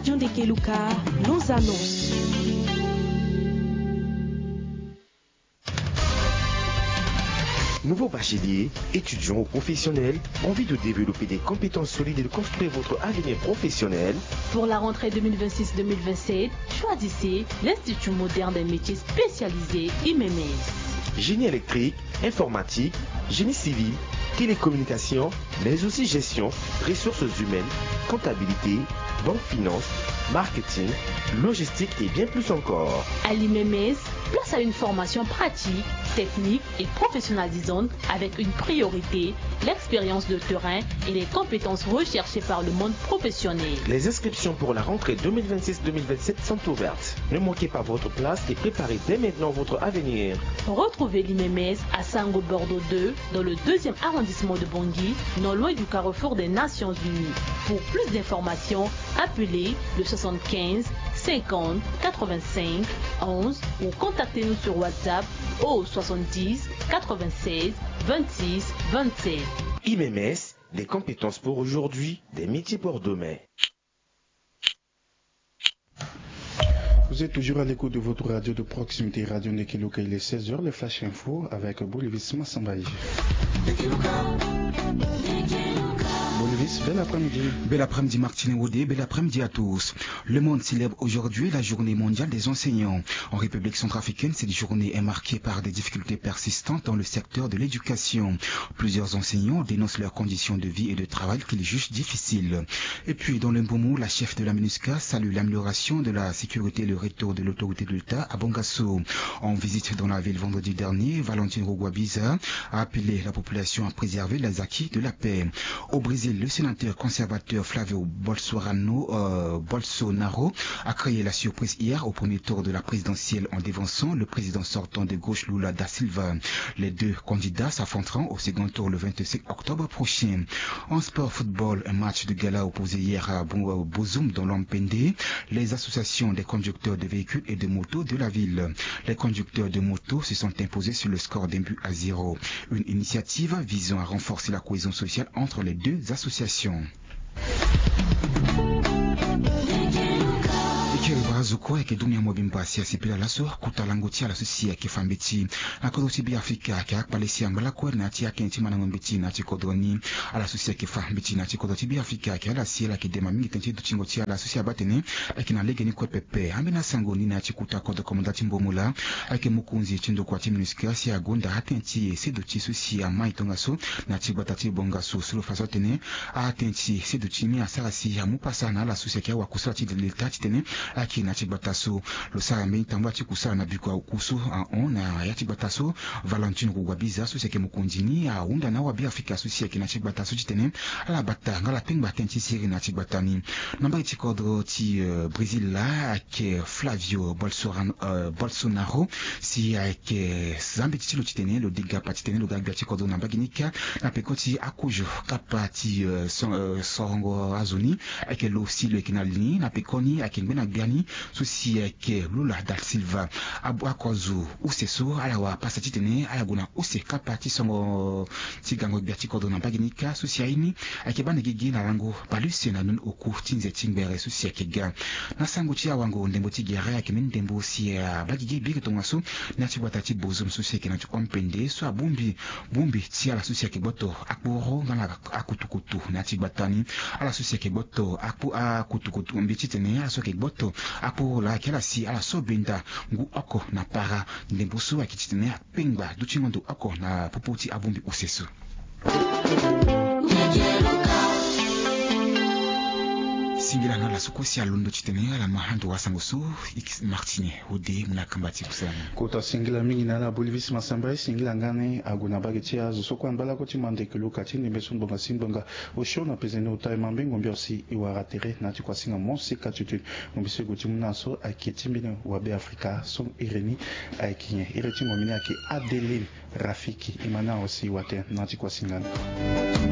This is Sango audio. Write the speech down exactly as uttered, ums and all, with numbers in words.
John de Keluka, nos annonces. Nouveau bachelier, étudiant ou professionnel, envie de développer des compétences solides et de construire votre avenir professionnel ? Pour la rentrée deux mille vingt-six deux mille vingt-sept, choisissez l'Institut moderne des métiers spécialisés I M M S. Génie électrique, informatique, génie civil, télécommunication, mais aussi gestion, ressources humaines, comptabilité, banque, finance, marketing, logistique et bien plus encore. À l'I M M S, place à une formation pratique, technique et professionnalisante avec une priorité, l'expérience de terrain et les compétences recherchées par le monde professionnel. Les inscriptions pour la rentrée deux mille vingt-six deux mille vingt-sept sont ouvertes. Ne manquez pas votre place et préparez dès maintenant votre avenir. Retrouvez l'I M M S à Sango Bordeaux deux, dans le deuxième arrondissement de Bangui, non loin du carrefour des Nations Unies. Pour plus d'informations, appelez le soixante-quinze cinquante quatre-vingt-cinq onze ou contactez-nous sur WhatsApp au soixante-dix quatre-vingt-seize vingt-six vingt-sept. I M M S, des compétences pour aujourd'hui, des métiers pour demain. Vous êtes toujours à l'écoute de votre radio de proximité, Radio Ndekeluka. Il est seize heures, le Flash Info avec Bolivis Massambaye. Bolivis, bel après-midi. Bel après-midi, Martine Wodé, bel après-midi à tous. Le monde célèbre aujourd'hui la journée mondiale des enseignants. En République centrafricaine, cette journée est marquée par des difficultés persistantes dans le secteur de l'éducation. Plusieurs enseignants dénoncent leurs conditions de vie et de travail qu'ils jugent difficiles. Et puis, dans le Mbomou, la chef de la MINUSCA salue l'amélioration de la sécurité et le retour de l'autorité de l'État à Bangassou. En visite dans la ville vendredi dernier, Valentine Rugwabiza a appelé la population à préserver les acquis de la paix. Au Brésil, le sénateur conservateur Flávio Bolsorano, euh, Bolsonaro a créé la surprise hier au premier tour de la présidentielle en devançant le président sortant de gauche Lula da Silva. Les deux candidats s'affronteront au second tour le vingt-cinq octobre prochain. En sport football, un match de gala opposé hier à Bo-, Bozoum dans l'Ompende. Les associations des conducteurs de véhicules et de motos de la ville. Les conducteurs de motos se sont imposés sur le score d'un but à zéro. Une initiative visant à renforcer la cohésion sociale entre les deux associations. E kiri barazo kue ayeke dunia mobimba si asepela laso kota lango ti ala so si ayeke fa mbeti na kodro ti Beafrika ayeke akpale si angba lakue na ya ti atënë ti mandango mbeti na ya ti kodro ni. Ala so si ayeke fa mbeti na ya ti kodro ti Beafrika ayeke ala si ala yeke dema mingi tënë ti dutingo ti ala so si abaa atene ayeke na legeni kue pepe. Ambeni asango ni na ya ti kota kodro komanda ti Mbomola ayeke mokonzi ti ndokua ti MINUSCA si agonda atënë ti seduti so si amai tongaso na ya ti gbata ti Bangassou so lo fa so atene atënë ti seduti ni asara si amu pasa na ala so si ayeke awakusala ti leta titene ayeke na ya ti gbata so. Lo sara mbeni tambula ti kusala na bikua oku so ahon na ya ti gbata so. Valentine Rugwabiza so si ayeke mokonzi ni ahunda na awabeafrika so si ayeke na ya ti gbata so titene ala bata nga ala pengba tënë ti siriri na ya ti gbata ni. Na mbage ti kodro ti, euh, Brésil laa ayeke Flávio Bolsoran-, euh, Bolsonaro si ayeke za mbeti ti lo titene lo degapa titene lo ga gbia ti kodro na mbage ni kâ na peko ti akozo kapa ti, euh, so-, euh, sorongo azo ni. Ayeke lo si lo yeke na li ni na pekoni ayeke ngbene gbia ni so si ayeke Lula da Silva. Abu ako azo use so ala wara pasa titene ala gue na use kapa ti songo ti gango gbia ti kodro na mbage ni kâ so si aye ni ayeke baa na gigi na lango baleuse na ndoni oku ti nze ti ngbere so si ayeke ga. Na sango ti awango ndembo ti gere ayeke mbeni ndembo si abaa gigi biri tongaso na ya ti gbata ti Bozoum so si ayeke na ti Ompende so abongbi bongbi ti ala so si ayeke gboto akporo nga na akutukutu na ya ti gbata ni. Ala so si ayeke gboto akpo akutukutu mbi titene ala so ayeke gboto akporo laa ayeke ala si ala so benda ngu oko na para ndembo so ayeke titene apengba dutingo ndo oko na popo ti abongbi use so. Singila na ala so kue si alondo titene ala ma ando wasango so. Martine Ode mu na kamba ti kusala ni. Kota singila mingi na ala Bolivis Masamba. E singila nga ni ague na mbage ti azo so kue angba lakue ti mande keluka ti ndembe so ngbonga si ngbonga osio na pezeni ota e ma mbengo mbio si e wara tere na ya ti kuasinga mo si ka tutu. Ngombe so e gue ti mu na so ayeke ti mbeni wabe Afrika so iri ni ayeke nyen? Iri ti ngombe ni ayeke Adeline Rafiki. E ma na awe si e wara tënë na ya ti kuasinga ni.